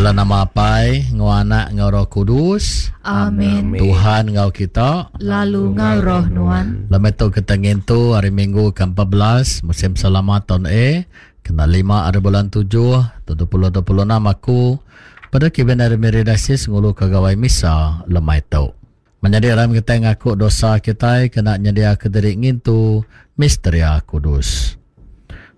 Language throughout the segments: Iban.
Dalam nama Apai, enggau Anak, enggau Roh Kudus. Amin. Tuhan enggau kita. Lalu enggau roh nuan. Lemai tu kita ngintu hari Minggu ke-14 musim selama taun A kena 5 hari bulan 7 tahun 2026 aku pada Kevin ari Miri Diocese ngulu ke gawai misa lemai tu. Menyadi aram kitai ngaku dosa kitai kena nyediaka diri ngintu misteria kudus.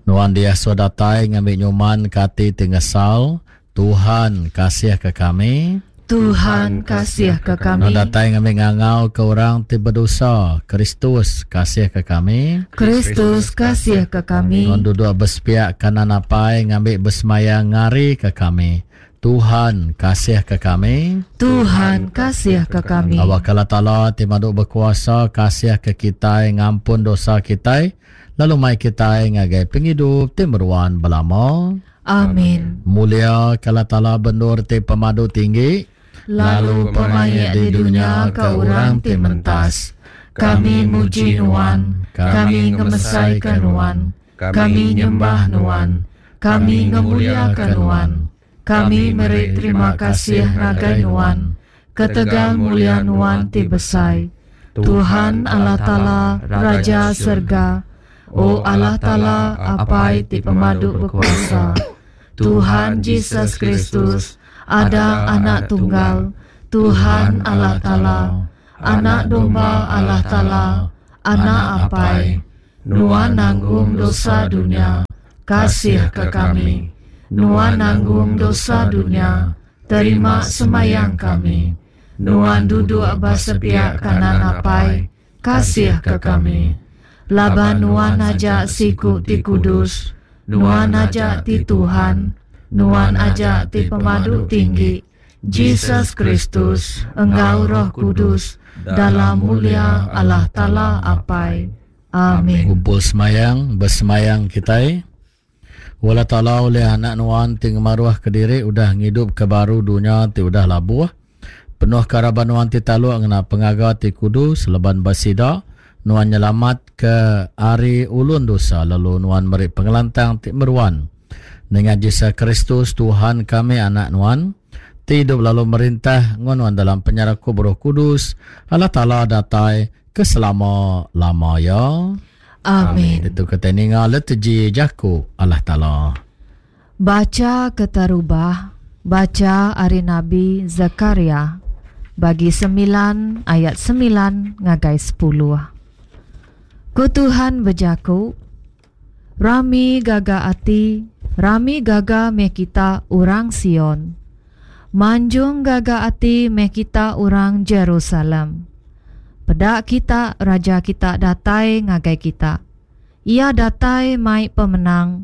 Nuan diasuh datai ngambi nyuman ke ati ti ngesal, Tuhan kasih ke kami. Tuhan kasih ke kami. Nuan datai ngambi ngangau ke orang ti bedosa, Kristus kasih ke kami. Kristus kasih ke kami. Nuan duduk besepiak kanan Apai ngambi besemaya ngari ke kami. Tuhan kasih ke kami. Tuhan kasih ke kami. Awak Allah Taala ti madu bekuasa kasih ke kitai ngampun dosa kitai lalu mai kitai ngagai pengidup ti meruan belama. Amin. Mulia ke Allah Taala bendur ti pemadu tinggi lalu pemaik di dunya ke orang ti mentas. Kami muji nuan, kami ngemesaika nuan, kami nyembah nuan, kami ngemuliaka nuan. Kami meri terima kasih ngagai Nuan ketegal mulia Nuan ti besai. Tuhan Allah Taala, Raja serega, O Allah Taala, Apai ti pemadu bekuasa, Tuhan Jesus Kristus, Ada Anak Tunggal, Tuhan Allah Taala, Anak Domba Allah Taala, Anak Apai, Nuan nanggung dosa dunya, kasihka kami. Nuan nanggung dosa dunya, terima sembahyang kami. Nuan duduk ba sepiak kanan Apai, kasihka kami. Laban Nuan aja siku ti kudus, Nuan aja ti Tuhan, Nuan aja ti pemadu tinggi, Jesus Kristus, enggau Roh Kudus, dalam mulia Allah Taala Apai. Amin. Ngumpul semayang, besemayang kitai. Allah Taala ulih anak nuan ti ngemaruh kediri udah ngidup ke baru dunya ti udah labuh. Penuh ke raban nuan ti taluk ngena pengaga ti kudus laban ba sida nuan nyelamat ke ari ulun dosa lalu nuan meri pengelantang ti meruan. Nengah Jesus Kristus Tuhan kami anak nuan ti idup lalu merintah enggau nuan dalam penyerakup Roh Kudus Allah Taala datai ke selama-lama iya. Amin. Ditu kitai ninga liturgi jaku Allah Taala. Bacha keterubah, bacha ari Nabi Zekaria, bagi semilan ayat semilan ngagai sepuluh. Ku Tuhan bejaku, Rami gaga ati, rami gaga meh kita orang Sion. Manjung gaga ati meh kita orang Jerusalem. Peda kita, Raja kita datai ngagai kita. Iya datai mai pemenang.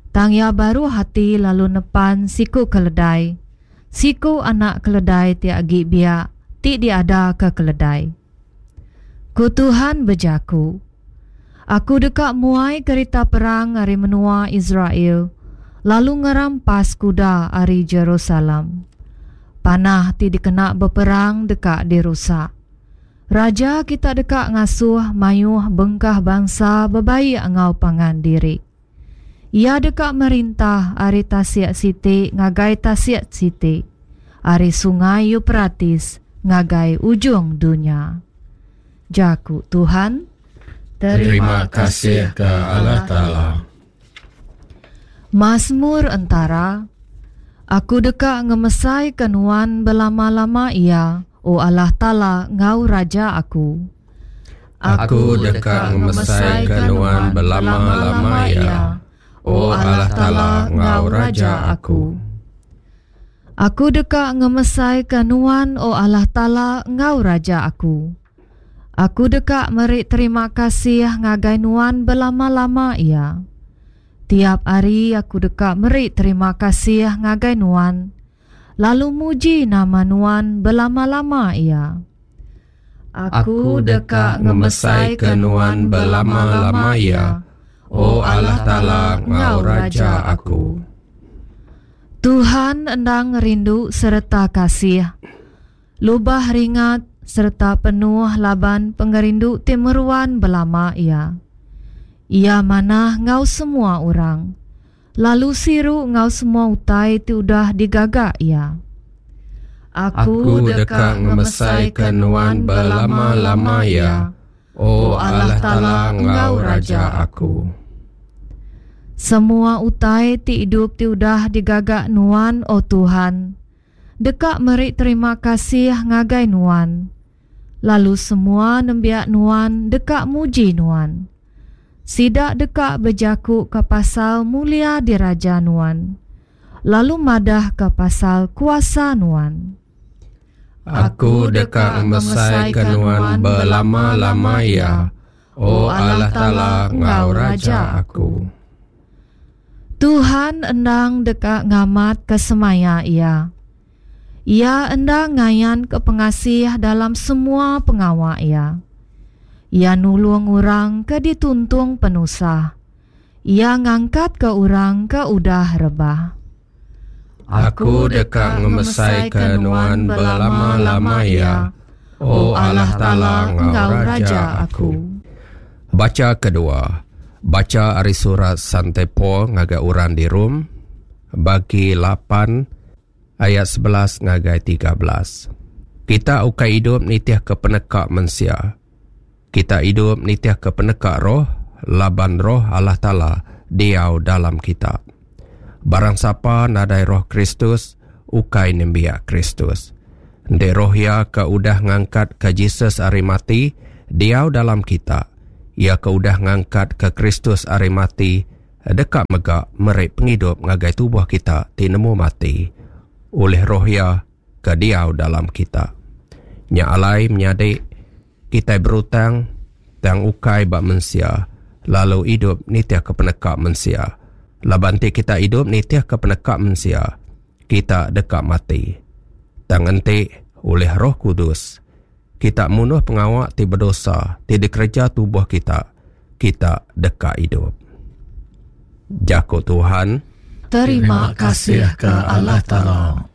Tang iya baruh ati lalu nepan siku keledai, siku anak keledai ti agi biak ti diadaka keledai. Ku tuhan bejaku, Aku deka muai kerita perang ari menua Israel lalu ngerampas kuda ari Jerusalem. Panah ti dikena beperang deka dirusak. Raja kita deka ngasuh mayuh bengkah bansa bebaik enggau pangan diri. Iya deka merintah ari tasik siti ngagai tasik siti, ari Sungai Eupratis ngagai ujung dunya. Jaku Tuhan. Terima kasih ke Allah Taala. Masmur entara, Aku deka ngemesaika Nuan belama-lama iya, O Allah Taala enggau Raja aku. Aku deka ngemesaika Nuan belama-lama iya, O Allah Taala enggau Raja aku. Aku deka ngemesaika Nuan, O Allah Taala enggau Raja aku. Aku deka meri terima kasih ngagai Nuan belama-lama iya. Tiap hari aku deka meri terima kasih ngagai Nuan, lalu muji nama Nuan belama-lama iya. Aku deka ngemesaika Nuan belama-lama iya, O Allah Taala enggau Raja aku. Tuhan endang rindu sereta kasih. Lubah ringat sereta penuh laban pengerindu ti meruan belama iya. Iya manah enggau semua orang. lalu siru enggau semua utai ti udah digaga Iya. Aku deka ngemesaika Nuan belama-lama iya, O Allah Taala enggau Raja aku. Semua utai ti idup ti udah digaga Nuan, O Tuhan, deka meri terima kasih ngagai Nuan, lalu semua nembiak Nuan deka muji Nuan. Sida deka bejakuka pasal mulia diraja Nuan, lalu madahka pasal kuasa Nuan. Aku deka ngemesaika Nuan belama-lama iya, O Allah Taala enggau Raja aku. Tuhan endang deka ngamatka semaya Iya. Iya endang ngayanka pengasih dalam semua pengawa Iya. Iya nulung orang ke dituntung penusah. Iya ngangkatka orang ke udah rebah. Aku deka ngemesaika Nuan belama-lama iya, O Allah Taala enggau Raja aku. Bacha kedua. Bacha ari surat Sante Paul ngagai orang di Rome, bagi lapan ayat 11 ngagai 13. Kita ukai idup nitihka peneka mensia. Kita idup nitihka peneka roh, laban roh Allah Taala diau dalam kita. Barang sapa nadai roh Kristus, ukai nembiak Kristus. Enti roh iya ke udah ngangkatka Jesus ari mati diau dalam kita, iya ke udah ngangkatka Kristus ari mati deka mega meri pengidup ngagai tubuh kita ti nemu mati, ulih roh iya ke diau dalam kita. Nya alai menyadi, kitai berutang tang ukai ba mensia lalu idup nitihka peneka mensia. Laban enti kita idup nitihka peneka mensia, kita deka mati. Tang enti ulih Roh Kudus, kita munuh pengawa ti bedosa ti dikereja tubuh kita, kita deka idup. Jaku Tuhan. Terima kasih ke Allah Taala.